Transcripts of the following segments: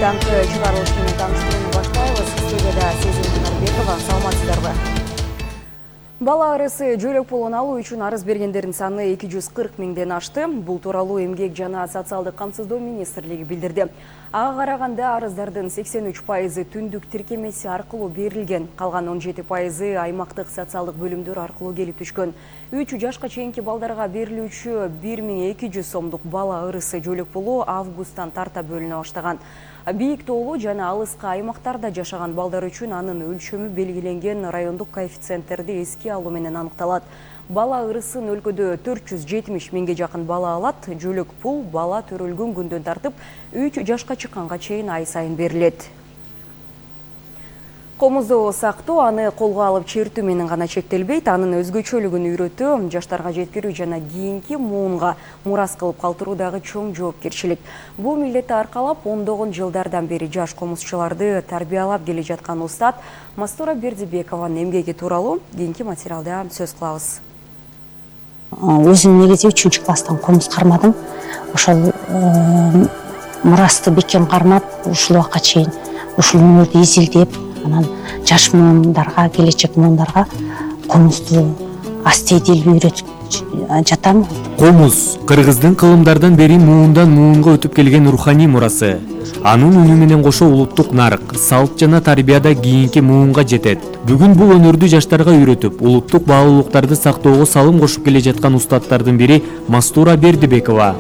таңкы чыгарылыш менен тааныштырууну баштайбыз. Студияда Сезим Нарбекова, саламатсыздарбы? Бала арысы жөлөк пулун алуу үчүн арыз бергендердин саны 240 миңден ашты. Бул тууралуу Эмгек жана социалдык камсыздоо министрлиги билдирди. Ага караганда арыздардын 83% түндүк тиркемеси аркылуу берилген, калган 17% аймактык социалдык бөлүмдөр аркылуу келип түшкөн. 3 жашка чейинки балдарга берилүүчү 1200 сомдук бала арысы жөлөк пулу августтан тарта бөлүнө баштаган. Бийик тоолуу жана алыска аймактарда жашаган балдар үчүн анын өлчөмү белгиленген райондук коэффициенттерди эске алуу менен аныкталат. Бала ырысын өлкөдө 470 миңге жакын бала алат. Жөлөк пул бала төрөлгөн күндөн тартып 3 жашка чыкканга чейин ай сайын берилет. Комузду сактоо аны колго алып чертүү менен гана чектелбейт, анын өзгөчөлүгүн үйрөтүү, жаштарга жеткирүү жана кийинки муунга мурас кылып калтыруу дагы чоң жоопкерчилик. Бул милдетти аркалап ондогон жылдардан бери жаш комузчуларды тарбиялап келе жаткан устат Мастура Бердибекованын эмгеги тууралуу кийинки материалда сөз кылабыз. Өзүм негизи 3 класстан комуз кармадым. Ошол мурасты бекем кармап, ушул убакка чейин ушул өнөрдү изилдеп, анан жаш муундарга, келечек муундарга комузду астейдил үйрөтүп жатам. Комуз кыргыздын кылымдардан бери муундан муунга өтүп келген руханий мурасы. Анын үнү менен кошо улуттук нарк, салт жана тарбияда кийинки муунга жетет. Бүгүн бул өнөрдү жаштарга үйрөтүп, улуттук баалуулуктарды сактоого салым кошуп келе жаткан устаттардын бири Мастура Бердибекова.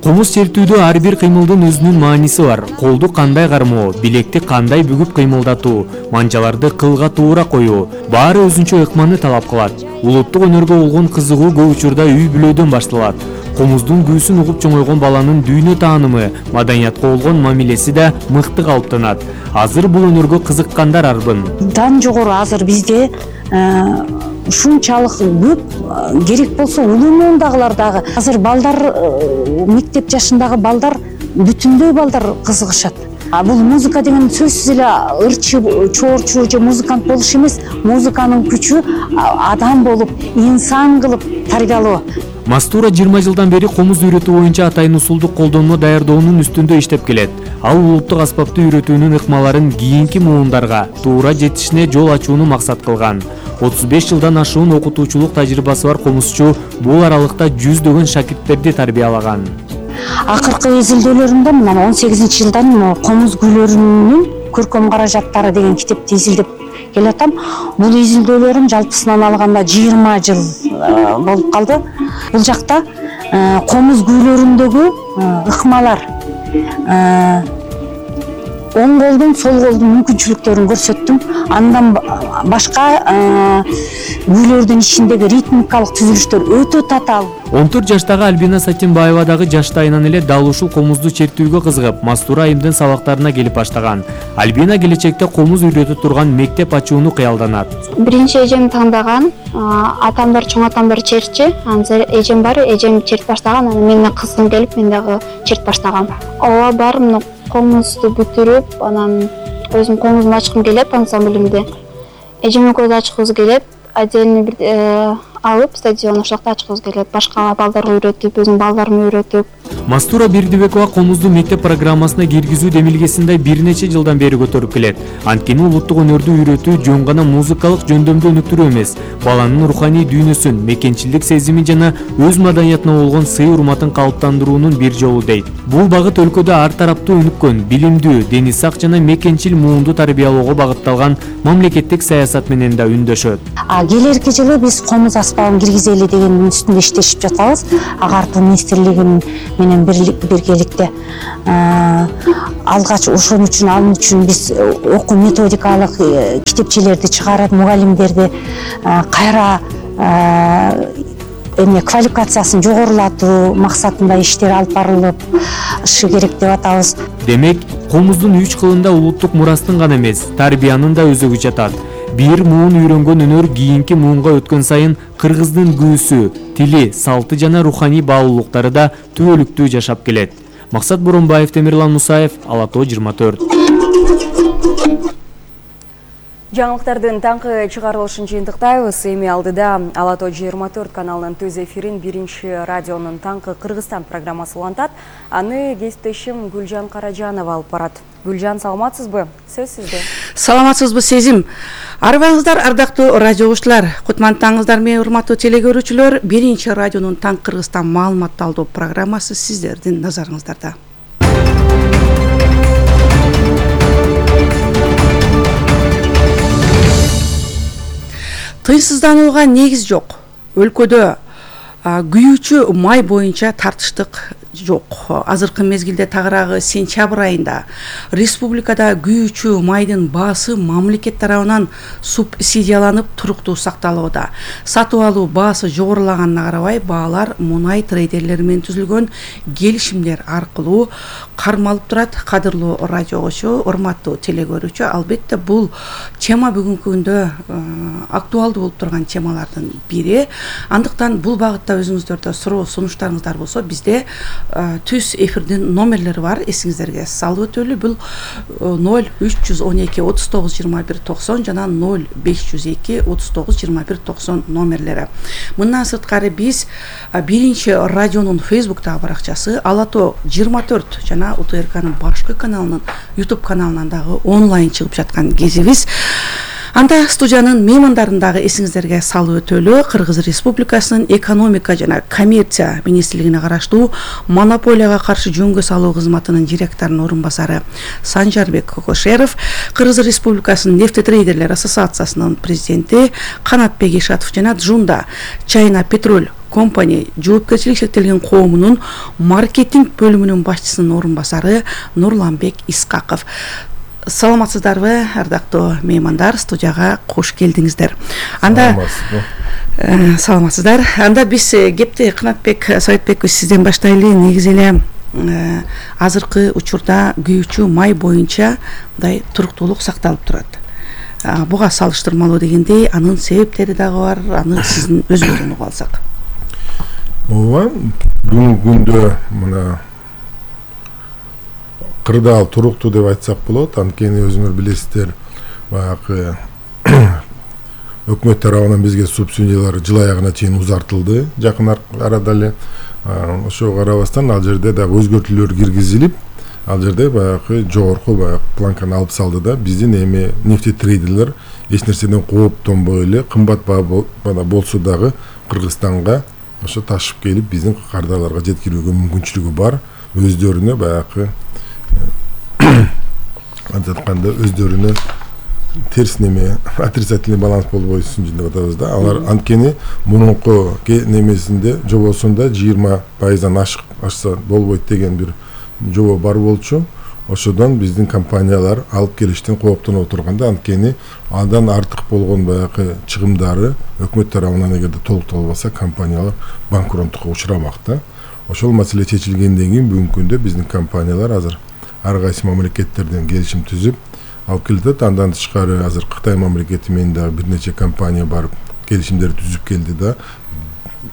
Комуз чертүүдө ар бир кыймылдын өзүнүн мааниси бар. Колду кандай кармоо, билекти кандай бүгүп кыймылдатуу, манжаларды кылга туура коюу, баары өзүнчө ыкманы талап кылат. Улуттук өнөргө болгон кызыгуу көп учурда үй бүлөдөн башталат. Комуздун күүсүн угуп чоңойгон баланын дүйнө таанымы, маданиятка болгон мамилеси да мыкты калыптанат. Азыр бул өнөргө кызыккандар арбын. Дан жогору азыр бизде ушунчалык көп, керек болсо улуу муундагылар дагы. Азыр балдар, мектеп жашындагы балдар, бүтүндөй балдар кызыгышат. Бул музыка деген сөзсүз эле ырчы, чоорчу же музыкант болуш эмес, музыканын күчү адам болуп, инсан кылып тарбиялоо. Мастура 20 жылдан бери комуз үйрөтүү боюнча атайын усулдук колдонмо даярдоонун үстүндө иштеп келет. Ал улуттук аспапты үйрөтүүнүн ыкмаларын кийинки муундарга туура жетишине жол ачууну максат кылган. 35 жылдан ашуун окутуучулук тажрыйбасы бар комузчу бул аралыкта жүздөгөн шакирттерди тарбиялаган. Акыркы изилдөөлөрүмдө мына 18-жылдан комуз күйлөрүнүн көркөм каражаттары деген китепти изилдеп келатам. Бул изилдөөлөрүм жалпысынан алганда 20 жыл болуп калды. Бул жакта комуз күйлөрүндөгү ыкмалар, оң колдун, сол колдун мүмкүнчүлүктөрүн көрсөттүм. Андан башка күйлөрдүн ичиндеги ритмикалык түзүлүштөр өтө татаал. 14 жаштагы Альбина Сатинбаева дагы жаштайынан эле дал ушул комузду чертүүгө кызыгып, Мастура айымдын сабактарына келип баштаган. Альбина келечекте комуз үйрөтө турган мектеп ачууну кыялданат. Биринчи эжем тандаган, атамдар, чоң атамдар чертчи, анан эжем бар, эжем чертип баштаган, анан менин кызым келип, мен дагы чертип баштагам. Ооба бар, мына комузду бүтүрүп, анан өзүм комузду ачкым келет ансамблимде. Эжем экөөбүз ачкыбыз келет, отдельный бир алып стадион ошокто ачкыбыз келет. Башка балдарга үйрөтүп, өзүм балдарыма үйрөтүп. Мастура Бердибекова комузду мектеп программасына киргизүү демилгесинде бир нече жылдан бери көтөрүп келет. Анткени улуттук өнөрдү үйрөтүү жөн гана музыкалык жөндөмдү өнүктүрүү эмес, баланын руханий дүйнөсүн, мекенчилдик сезимин жана өз маданиятына болгон сый урматын калыптандыруунун бир жолу дейт. Бул багыт өлкөдө ар тараптуу өнүккөн, билимдүү, дени сак жана мекенчил муунду тарбиялоого багытталган мамлекеттик саясат менен да үндөшөт. Келерки жылы биз комуз аспабын киргизели дегендин үстүндө иштешип жатабыз. Агартуу министрлиги менен биргеликте алгач ошон үчүн биз окуу методикалык китепчелерди чыгарып, мугалимдерди кайра квалификациясын жогорулатуу максатында иштер алып барылышы керек деп атабыз. Демек, комуздун 3 кылында улуттук мурастын гана эмес, тарбиянын да өзөгү жатат. Бир муун үйрөнгөн өнөр кийинки муунга өткөн сайын кыргыздын күүсү, тили, салты жана руханий баалуулуктары да түбөлүктүү жашап келет. Максат Боронбаев, Темирлан Мусаев, Ала Тоо 24. Жаңылыктардын таңкы чыгарылышын жыйынтыктайбыз. Эми алдыда Ала Тоо 24 каналынын төз эфирин Биринчи радионун таңкы Кыргызстан программасы улантат. Аны кесиптешим Гүлжан Каражанова алып барат. Гүлжан, саламатсызбы? Сөз сизде. Саламатсызбы Сезим. Арбаңыздар, ардактуу радио угуучулар. Кутмандаңыздар менен урматтуу телегөрүүчүлөр. Биринчи радионун таңкы Кыргызстан маалыматталдоо программасы сиздердин назарыңыздарда. Тыйсызданууга негиз жок. Өлкөдө күйүүчү май боюнча тартыштык жок. Азыркы мезгилде тагыраагы сентябрь айында республикада күйүүчү майдын баасы мамлекет тарабынан субсидияланып туруктуу сакталууда. Сатып алуу баасы жогорулаганына карабай, баалар мунай трейдерлери менен түзүлгөн келишимдер аркылуу кармалып турат. Кадырлуу радио угуучу, урматтуу телегөрүүчү, албетте бул тема бүгүнкү күндө актуалдуу болуп турган темалардын бири. Андыктан бул багытта өзүңүздөрдө суроо сунуштарыңыздар болсо, бизде түз эфирдин номерлери бар. Эсиңиздерге салып өтөлү. Бул 0312 39 21 90 жана 0502 39 21 90 номерлери. Мындан сырткары биз Биринчи радионун Фейсбуктагы баракчасы, Ала Тоо 24 жана УТРКнын башкы каналынын YouTube каналынан дагы онлайн чыгып жаткан кезибиз. Анда студиянын меймандарындагы эсиңиздерге салып өтөлү. Кыргыз Республикасынын экономика жана коммерция министрлигине караштуу монополияга каршы жөнгө салуу кызматынын директорунун орун басары Санжарбек Кокошеров, Кыргыз Республикасынын нефтетрейдерлер ассоциациясынын президенти Канатбек Ишатов жана Джунда Чайна Петроль компания жоопкерчилик шектелген коомунун маркетинг бөлүмүнүн башчысынын орун басары Нурланбек Искаков. Саламатсыздарбы, ардактуу меймандар, студияга кош келдиңиздер. Анда саламатсыздар. Анда биз кепти Канатбек Советбекович сизден баштайлы. Негизи эле азыркы учурда күйүүчү май боюнча мындай туруктуулук сакталып турат. Буга салыштырмалуу дегендей, анын себептери дагы бар. Аны сиздин өзүңүздөн угуп алсак. Ооба, бүгүнкү күндө мына кырдаал туруктуу деп айтсак болот. Анткени өзүңөр билесиздер, баягы өкмөт тарабынан бизге субсидиялар жыл аягына чейин узартылды. Жакын арада эле ошого карабастан ал жерде дагы өзгөртүүлөр киргизилип, ал жерде баягы жогорку баягы планканы алып салды да, биздин эми нефтетрейдерлер эч нерседен кооптонбой эле кымбат баада болсо дагы Кыргызстанга ошо ташып келип биздин кардарларга жеткирүүгө мүмкүнчүлүгү бар. Өздөрүнө баягы антканда өздөрүнө терс неме отрицательный баланс болбойсун деп атабыз да. Алар анткени мурунку немесинде жобосунда 20%-дан ашса болбойт деген бир жобо бар болчу. Ошодон биздин компаниялар алып келиштен кооптонуп отурганда, анткени андан артык болгон баягы чыгымдары өкмөт тарабынан эгерде толукталбаса, компаниялар банкроттукка учурамак да. Ошол маселе чечилгенден кийин бүгүнкү күндө биздин компаниялар азыр ар кайсы мамлекеттерден келишим түзүп алып келет. Андан тышкары азыр Кытай мамлекети менен дагы бир нече компания барып келишимдер түзүп келди да.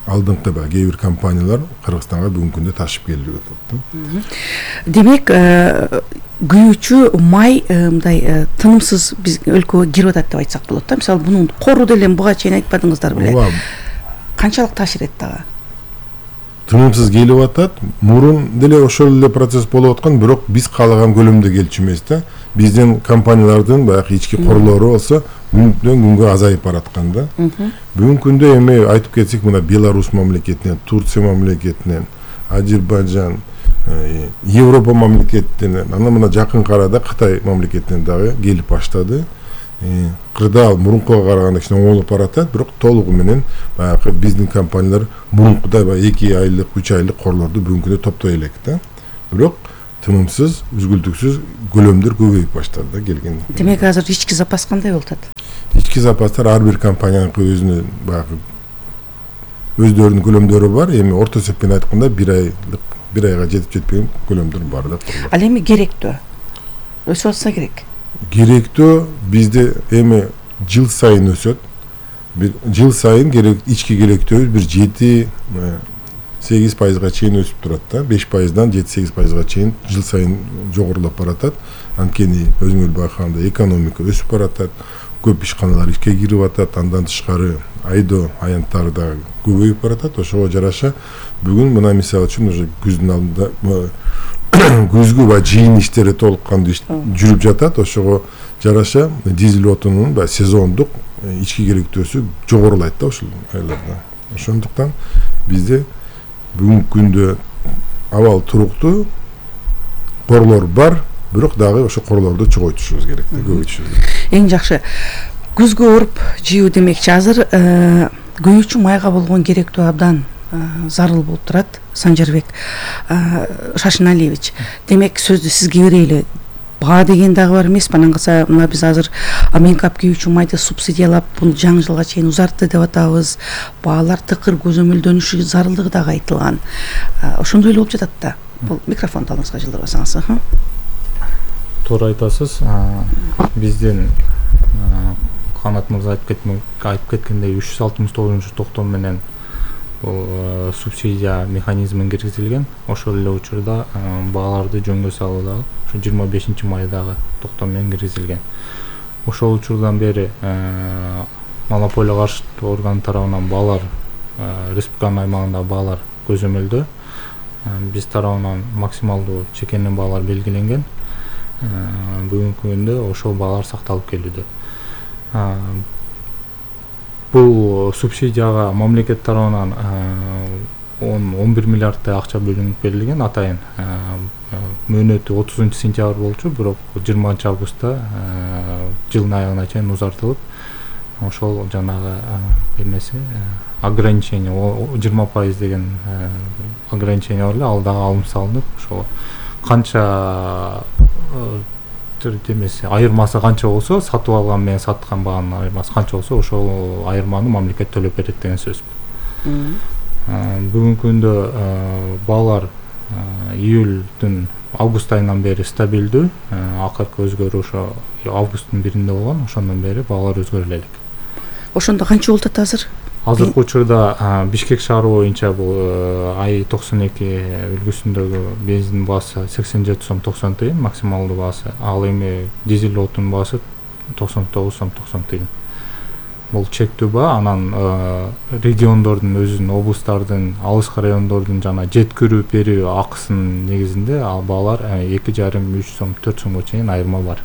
Алдыңкы кээ бир компаниялар Кыргызстанга бүгүнкү күндө ташып келип атат. Демек, күйүүчү май мындай тынымсыз биз өлкөгө кирип атат деп айтсак болот да. Мисалы, бунун кору деле буга чейин айтпадыңыздар беле? Канчалык таашир этти ага? Тынымсыз келип атат. Мурун деле ошол эле процесс болуп аткан, бирок биз каалаган көлөмдө келчү эмес да. Биздин компаниялардын баягы ички корлору болсо күндөн күнгө азайып бараткан да. Бүгүнкү күндө эми айтып кетсек, мына Беларусь мамлекетинен, Турция мамлекетинен, Азербайжан, Европа мамлекетинен, анан мына жакын арада Кытай мамлекетинен дагы келип баштады. Кырдаал мурункуга караганда кичине оңолуп баратат, бирок толугу менен баягы биздин компаниялар мурункудай 2 айлык, 3 айлык корлорду бүгүнкү күндө топтой элек да. Бирок тынымсыз, үзгүлтүксүз көлөмдөр көбөйүп баштады да келген. Демек, азыр ички запас кандай болуп атат? Ички запастар ар бир компаниянын өзүнүн баягы өздөрүнүн көлөмдөрү бар. Эми орто эсеппен айтканда 1 айга жетип жетпеген көлөмдөр бар да. Ал эми керектүү? Өсүп атса керек? Керектүү бизде эми жыл сайын өсөт. Жыл сайын ички керектөөбүз бир 7-8% чейин өсүп турат да. 5%-дан 7-8%га чейин жыл сайын жогорулап баратат. Анткени өзүңөр байкагандай экономика өсүп баратат. көп ишканалар ишке кирип атат, андан тышкары айдоо аянттары да көбөйүп баратат. Ошого жараша бүгүн мына мисалы үчүн уже күздүн алдында күзгү баягы жыйын иштери толук кандуу жүрүп жатат. Ошого жараша дизель отунунун баягы сезондук ички керектөөсү жогорулайт да ушул айларда. Ошондуктан бизде бүгүнкү күндө абал туруктуу, корлор бар, бирок дагы ошо корлорду чоңойтушубуз керек да, көбөйтүшүбүз керек. Эң жакшы күзгү оруп жыйуу демекчи, азыр күйүүчү майга болгон керектөө абдан зарыл болуп турат. Санжарбек Шашыналиевич, демек сөздү сизге берели. Баа деген дагы бар эмеспи? Анан калса мына биз азыр Минкап күйүүчү майды субсидиялап бул жаңы жылга чейин узартты деп атабыз. Баалар тыкыр көзөмөлдөнүшү зарылдыгы дагы айтылган. Ошондой эле болуп жатат да. Бул микрофонду алыңызга жылдырбасаңыз. Туура айтасыз. Биздин Канат мырза айтып кеткендей 369-токтом менен бул субсидия механизмин киргизилген. Ошол эле учурда бааларды жөнгө салуу дагы ошо 25-майдагы токтом менен киргизилген. Ошол учурдан бери монополия каршылык орган тарабынан баалар республиканын аймагында баалар көзөмөлдө. Биз тарабынан максималдуу чекенин баалар белгиленген. Бүгүнкү күндө ошол баалар сакталып келүүдө. Бул субсидияга мамлекет тарабынан 11 миллиардтай акча бөлүнүп берилген атайын. Мөөнөтү 30-сентябрь болчу, бирок 20-августта жылдын аягына чейин узартылып, ошол жанагы эмеси ограничение 20% деген ограничение бар эле, ал дагы алынып салынып, ошо канча демеси айырмасы канча болсо, сатып алган менен саткан баанын айырмасы канча болсо, ошол айырманы мамлекет төлөп берет деген сөз. Бүгүнкү күндө баалар июлдун август айынан бери стабилдүү. Акыркы өзгөрүү ошо августтун 1-inde болгон. Ошондон бери баалар өзгөрө элек. Ошондо канча болуп атат азыр? Азыркы учурда Бишкек шаары боюнча бул ай 92 үлгүсүндөгү бензин баасы 87 сом 90 тыйын максималдуу баасы. Ал эми дизель отун баасы 99 сом 90 тыйын. Бул чектүү баа. Анан региондордун өзүнүн, облустардын, алыскы райондордун жана жеткирүү берүү акысынын негизинде ал баалар 2,5-3 сом 4 сомго чейин айырма бар.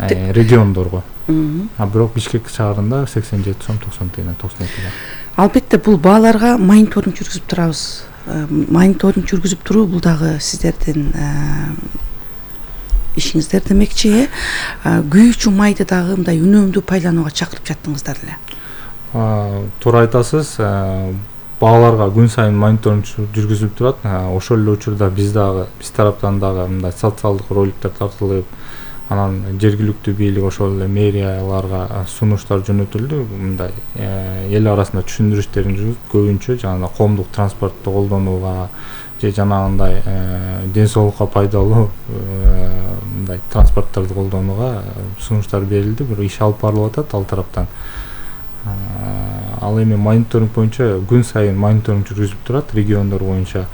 Региондорго. Бирок Бишкек шаарында 87 сом 90 тыйын 92 бар. Албетте бул бааларга мониторинг жүргүзүп турабыз. Мониторинг жүргүзүп туруу бул дагы сиздердин ишиңиздер демекчи. Күйүүчү майды дагы мындай үнөмдүү пайдаланууга чакырып жаттыңыздар эле. Туура айтасыз. Бааларга күн сайын мониторинг жүргүзүлүп турат. Ошол эле учурда биз тараптан дагы мындай социалдык роликтер тартылып, анан жергиликтүү бийлик ошол эле мэрияларга сунуштар жөнөтүлдү. Мындай эл арасында түшүндүрүштерин жүргүзүп, көбүнчө жана коомдук транспортто колдонууга же жанагындай ден соолукка пайдалуу мындай транспорттарды колдонууга сунуштар берилди. Бирок иш алып барылып атат ал тараптан. Ал эми мониторинг боюнча күн сайын мониторинг жүргүзүп турат региондор боюнча.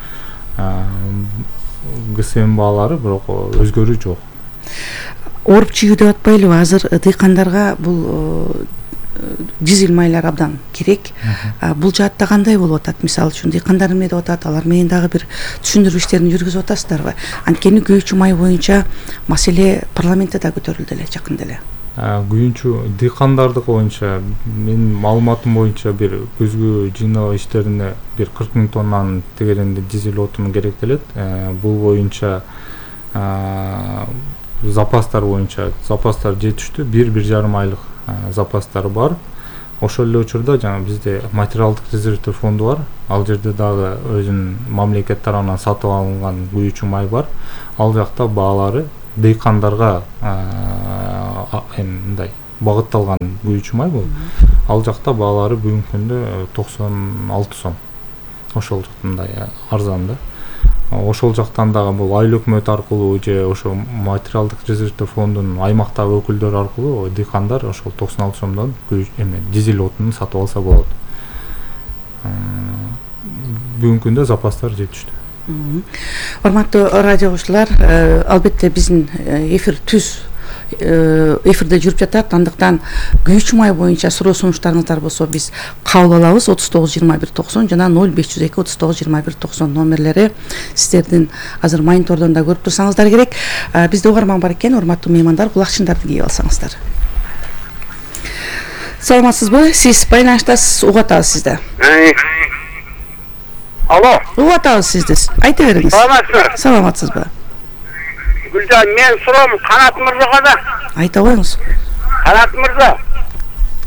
ГСМ баалары бирок өзгөрүү жок. Оруп жыйуу деп атпайлыбы? Азыр дыйкандарга бул дизель майлар абдан керек. Бул жаатта кандай болуп атат? Мисалы үчүн дыйкандар эме деп атат, алар менен дагы бир түшүндүрүү иштерин жүргүзүп атасыздарбы? Анткени күйүүчү май боюнча маселе парламентте да көтөрүлдү эле жакында эле. Күйүүчү дыйкандардык боюнча менин маалыматым боюнча бир күзгү жыйноо иштерине бир 40 000 тоннанын тегеренде дизель отуну керектелет. Бул боюнча запастар боюнча запастар жетиштүү, 1,5 айлык запастар бар. Ошол эле учурда жана бизде материалдык резервдер фонду бар. Ал жерде дагы өзүнүн мамлекет тарабынан сатып алынган күйүүчү май бар. Ал жакта баалары дыйкандарга мындай багытталган күйүүчү май бул. Ал жакта баалары бүгүнкү күндө 96 сом. Ошол жакта мындай арзан да. Ошол жактан дагы бул айыл өкмөт аркылуу же ошо материалдык резервдер фондунун аймактагы өкүлдөрү аркылуу дыйкандар ошол 96 сомдон дизель отунун сатып алса болот. Бүгүнкү күндө запастар жетиштүү. Урматтуу радио угуучулар, албетте биздин эфир түз эфирде жүрүп жатат. Андыктан күйүүчү май боюнча суроо сунуштарыңыздар болсо биз кабыл алабыз. 39-21-90 жана 0502-39-21-90 номерлери сиздердин азыр монитордон да көрүп турсаңыздар керек. Бизде угарман бар экен, урматтуу меймандар, кулакчындарды кийип алсаңыздар. Саламатсызбы? Сиз байланыштасыз, угуп атабыз сизди. Алло. Угуп атабыз сизди. Айта бериңиз. Саламатсызбы? Саламатсызбы? Гүлжан, мен суроом Канат мырзага да. Айта коюңуз. Канат мырза.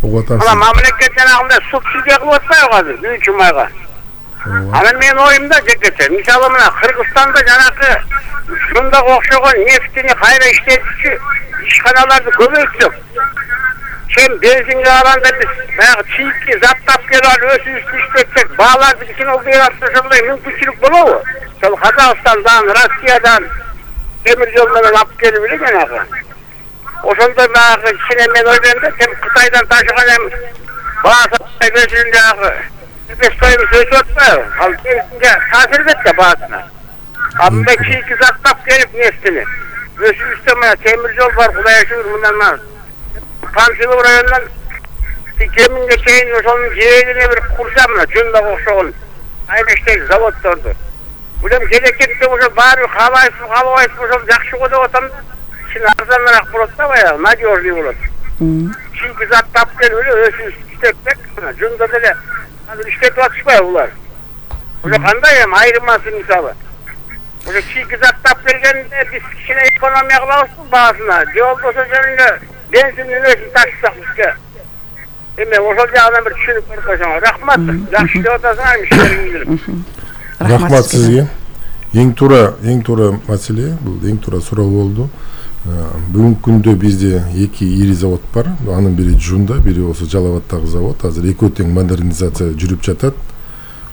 Угуп атабыз. Мына мамлекет жанагындай субсидия кылып атпайбы азыр күйүүчү майга? Анан менин оюмда жекече, мисалы мына Кыргызстанда жанакы ушундага окшогон нефтини кайра иштетүүчү ишканаларды көбөйтсөк, чем бензинге алганда биз баягы чийки заттап келип алып өзүбүз иштетсек, бааларды кичине ошондой мүмкүнчүлүк болобу? Ошол Казакстандан, Россиядан темир жол менен алып келип эле жанагы. Ошондой баягы кичине мен ойлойм да, чем Кытайдан ташыган эми баасы өзүнүн жанагы себестоюмуз өсүп атпайбы? Ал бензинге таасир этет да баасына. А мындай чийки заттап келип нефтини өзүбүздө мына темир жол бар, Кудай шүгүр, мындан Панфилов районунан Кеминге чейин ошонун жээгине бир курса мына жундага окшогон айнештеги заводдорду. Булем келечекте ошо баары каалабайсызбы ошол жакшы го деп атам. Кичине арзаныраак болот да, баягы надежный болот. Чийки заттап келип эле өзүбүз иштетсек, мына жунда деле азыр иштетип атышпайбы булар? Ошо кандай эми айырмасы мисалы? Ошо чийки заттап келгенде биз кичине экономия кылабызбы баасына? Же болбосо жөнүндө бензиндин өзүн ташысак бизге? Эми ошол жагынан бир түшүнүп берип койсоңор. Рахмат. Жакшы деп атасыңар иштериңизди. Рахмат сизге. Эң туура маселе, бул эң туура суроо болду. Бүгүнкү күндө бизде эки ири завод бар. Анын бири Жунда, бири болсо Жалал Абаддагы завод. Азыр экөө тең модернизация жүрүп жатат.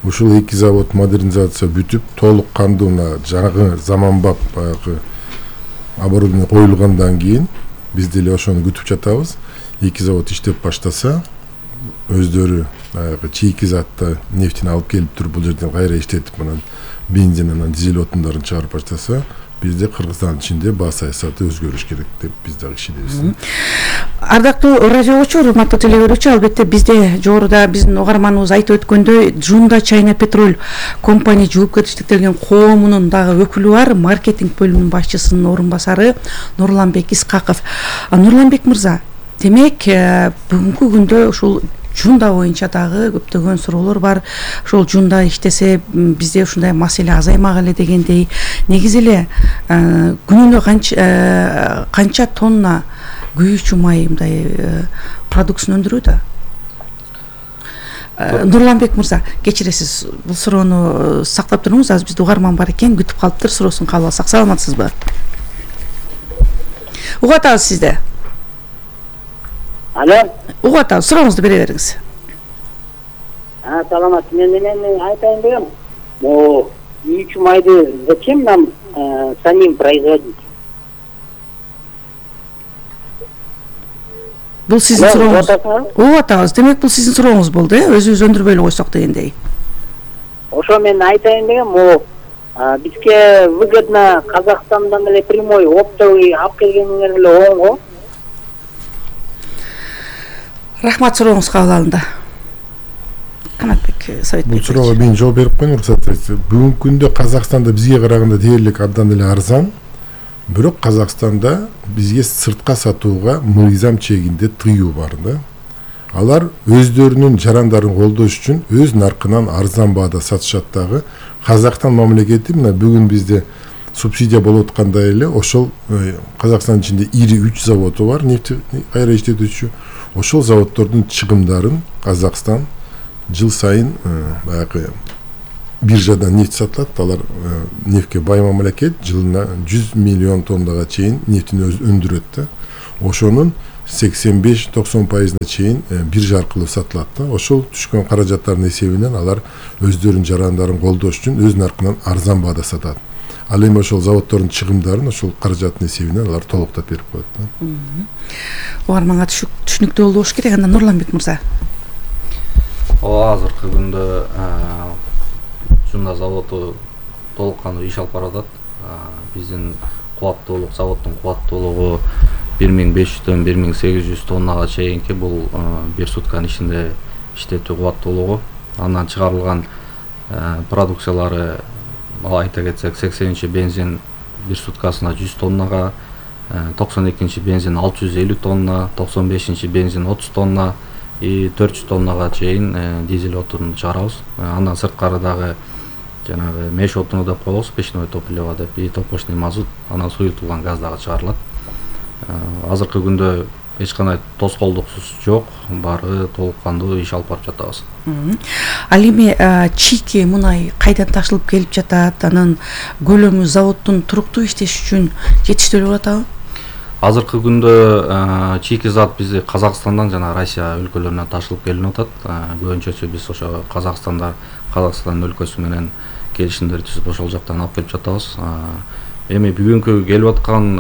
Ушул эки завод модернизация бүтүп, толук кандуу жаңы заманбап баягы оборудование коюлгандан кийин биз деле ошону күтүп жатабыз. Эки завод иштеп баштаса, өздөрү баягы чийки затты нефтини алып келип туруп бул жерден кайра иштетип, анан бензин анан дизель отундарын чыгарып баштаса, бизде Кыргызстандын ичинде баа саясаты өзгөрүш керек деп биз дагы ишенебиз. Ардактуу радио угуучу, урматтуу теле көрүүчү, албетте бизде жогоруда биздин угарманыбыз айтып өткөндөй Жунда Чайна Петроль компания жоопкерчиликтелген коомунун дагы өкүлү бар, маркетинг бөлүмүнүн башчысынын орун басары Нурланбек Искаков. Нурланбек мырза, демек бүгүнкү күндө ушул Жунда боюнча дагы көптөгөн суроолор бар. Ошол Жунда иштесе бизде ушундай маселе азаймак эле дегендей. Негизи эле күнүнө канча тонна күйүүчү май мындай продукцияны өндүрүүдө? Нурланбек мырза, кечиресиз, бул суроону сактап туруңуз, азыр бизде угарман бар экен, күтүп калыптыр, суроосун кабыл алсак. Саламатсызбы? Угуп атабыз сизди. Алло. Угуп атабыз, сурооңузду бере бериңиз. Саламат, мен айтайын дегем. Күйүүчү майды зачем нам самим производить? Бул сиздин сурооңуз. Угуп атабыз. Демек бул сиздин сурооңуз болду, өзүбүз өндүрбөй эле койсок дегендей. Ошо мен айтайын дегем, бизге выгодно Казакстандан эле прямой оптовый алып келгениңер эле оң го. Рахмат, сурооңуз кабыл алынды. Канатбек Советбек. Бул суроого мен жооп берип коеюн, уруксат этсеңиз. Бүгүнкү күндө Казакстанда бизге караганда дээрлик абдан эле арзан. Бирок Казакстанда бизге сыртка сатууга мыйзам чегинде тыюу бар да. Алар өздөрүнүн жарандарын колдош үчүн өз наркынан арзан баада сатышат дагы. Казакстан мамлекети мына бүгүн бизде субсидия болуп аткандай эле ошол Казакстандын ичинде ири 3 заводу бар, нефть кайра иштетүүчү. Ошол заводдордун чыгымдарын Казакстан жыл сайын баягы биржадан нефть сатылат. Алар нефтке бай мамлекет, жылына 100 миллион тоннага чейин нефтини өндүрөт да. Ошонун 85-90% чейин биржа аркылуу сатылат да. Ошол түшкөн каражаттардын эсебинен алар өздөрүнүн жарандарын колдош үчүн өз наркынан арзан баада сатат. Ал эми ошол заводдордун чыгымдарын ошол каражаттын эсебинен алар толуктап берип коет да. Угарманга түшүнүктүү болуш керек. Анда Нурланбек мырза. Азыркы күндө Жунда заводу толук кандуу иш алып баратат. Биздин кубаттуулук, заводдун кубаттуулугу 1500-дөн 1800 тоннага чейинки бул бир сутканын ичинде иштетүү кубаттуулугу. Андан чыгарылган продукциялары айта кетсек 80 бензин бир суткасына 100 тоннага, 92 бензин 650 тонна, 95 бензин 30 тонна и 400 тоннага чейин дизель отун чыгарабыз. Андан сырткары дагы жанагы меш отуну деп коебуз, печное топливо деп, и топочный мазут, анан суюлтулган газ дагы чыгарылат. Азыркы күндө эч кандай тоскоолдуксуз жок, баары толук кандуу иш алып барып жатабыз. Ал эми чийки мунай кайдан ташылып келип жатат, анан көлөмү заводдун туруктуу иштеш үчүн жетиштирилип атабы? Азыркы күндө чийки зат бизде Казакстандан жана Россия өлкөлөрүнөн ташылып келинип атат. Көбүнчөсү биз ошо Казакстан өлкөсү менен келишимдер түзүп ошол жактан алып келип жатабыз. Эми бүгүнкү келип аткан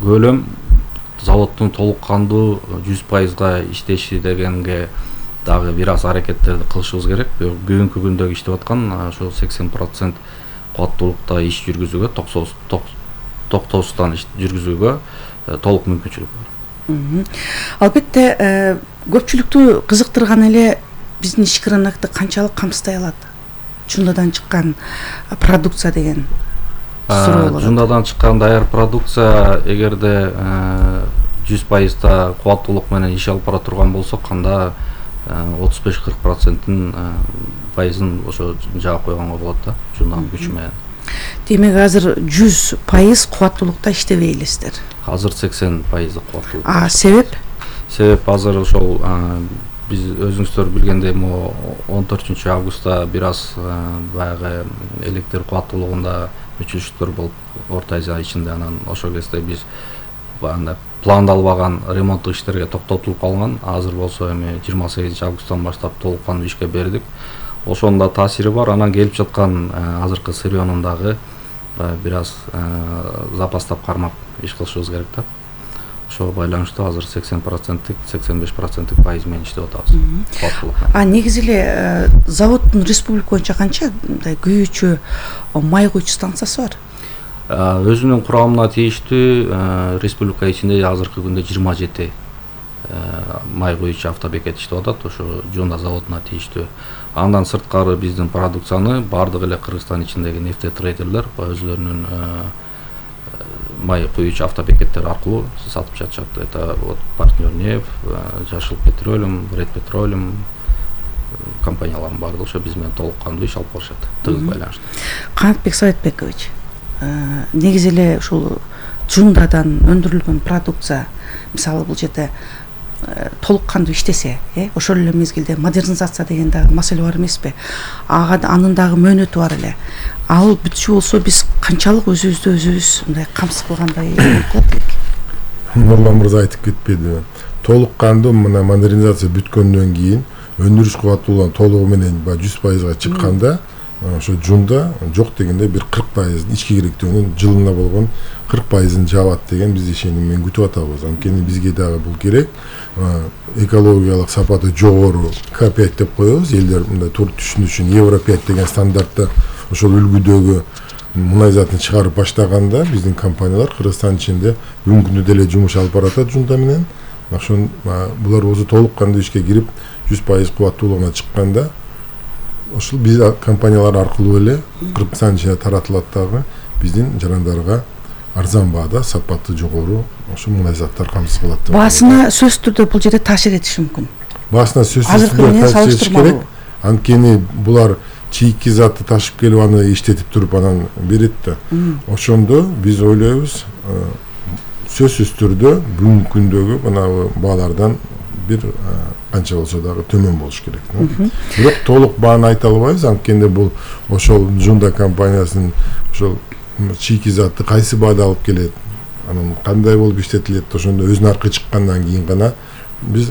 көлөм заводдун толук кандуу 100% иштеши дегенге дагы бир аз аракеттерди кылышыбыз керек. Бүгүнкү күндөгү иштеп аткан ошо 80% кубаттуулукта иш жүргүзүүгө, токтоосуздан жүргүзүүгө толук мүмкүнчүлүк бар. Албетте көпчүлүктү кызыктырган эле биздин ички рынокто канчалык камсыздай алат жундадан чыккан продукция деген суроо болот. Жундадан чыккан даяр продукция эгерде 100% кубаттуулук менен иш алып бара турган болсок, анда 35-40%-ын ошо жаап койгонго болот да, жунданын күчү менен. Демек азыр 100% кубаттуулукта иштебей элесиздер. Азыр 80% кубаттуулук. Себеп? Себеп азыр ошол биз өзүңүздөр билгендей 14 августта бир аз баягы электр кубаттуулугунда өчүрүштөр болуп Орто Азия ичинде, анан ошол кезде биз пландалбаган ремонттук иштерге токтотулуп калган. Азыр болсо эми 28 августтан баштап толук кандуу ишке бердик. Ошонун да таасири бар. Анан келип жаткан азыркы сырьёнун дагы бир аз запастап кармап иш кылышыбыз керек да. Ошого байланыштуу азыр 80%, 85% пайыз менен иштеп атабыз. Негизи эле заводдун республика боюнча канча мындай күйүүчү май куйчу станциясы бар? Өзүнүн курамына тийиштүү республика ичинде азыркы күндө 27 май куйчу автобекет иштеп атат, ошо Жунда заводуна тийиштүү. Андан сырткары биздин продукцияны бардык эле Кыргызстан ичиндеги нефтетрейдерлер өзүлөрүнүн май куйчу автобекеттер аркылуу сатып жатышат. Это вот партнер нефть, Жашыл петролиум, Ред петролиум компаниялардын бардыгы ошо биз менен толук кандуу иш алып барышат, тыгыз байланыштуу. Канатбек Советбекович, негизи эле ушул Жундадан өндүрүлгөн продукция, мисалы бул жерде толук кандуу иштесе, ошол эле мезгилде модернизация деген дагы маселе бар эмеспи? Анын дагы мөөнөтү бар эле. Ал бүтчү болсо биз канчалык өзүбүз мындай камсыз кылгандай болуп калат элек? Нурлан мырза айтып кетпеди. Толук кандуу мына модернизация бүткөндөн кийин өндүрүш кубаттуулугу толугу менен 100% чыкканда ошо Жунда жок дегенде бир 40% ички керектүүнүн жылына болгон 40%-ын жабат деген биз ишеним менен күтүп атабыз. Анткени бизге дагы бул керек. Экологиялык сапаты жогору К5 деп коебуз. Элдер мындай туруп түшүнүү үчүн Евро 5 деген стандартта ошол үлгүдөгү мунай затын чыгарып баштаганда биздин компаниялар Кыргызстан ичинде бүгүнкү күндө деле жумуш алып баратат Жунда менен. Ошон булар болсо толук кандуу ишке кирип 100% кубаттуулугуна чыкканда ошол биз компаниялар аркылуу эле Кыргызстан ичинде таратылат дагы биздин жарандарга арзан баада сапаты жогору ошо мунай заттар камсыз кылат. Баасына сөзсүз түрдө бул жерде таасир этиши мүмкүн. Баасына сөзсүз түрдө таасир этиш керек. Анткени булар чийки затты ташып келип аны иштетип туруп анан берет да. Ошондо биз ойлойбуз сөзсүз түрдө бүгүнкү күндөгү мына баалардан бир канча болсо дагы төмөн болуш керек. Бирок толук бааны айта албайбыз, анткени бул ошол Жунда компаниясынын ошол чийки затты кайсы баада алып келет, анан кандай болуп иштетилет, ошондо өзүнүн аркы чыккандан кийин гана биз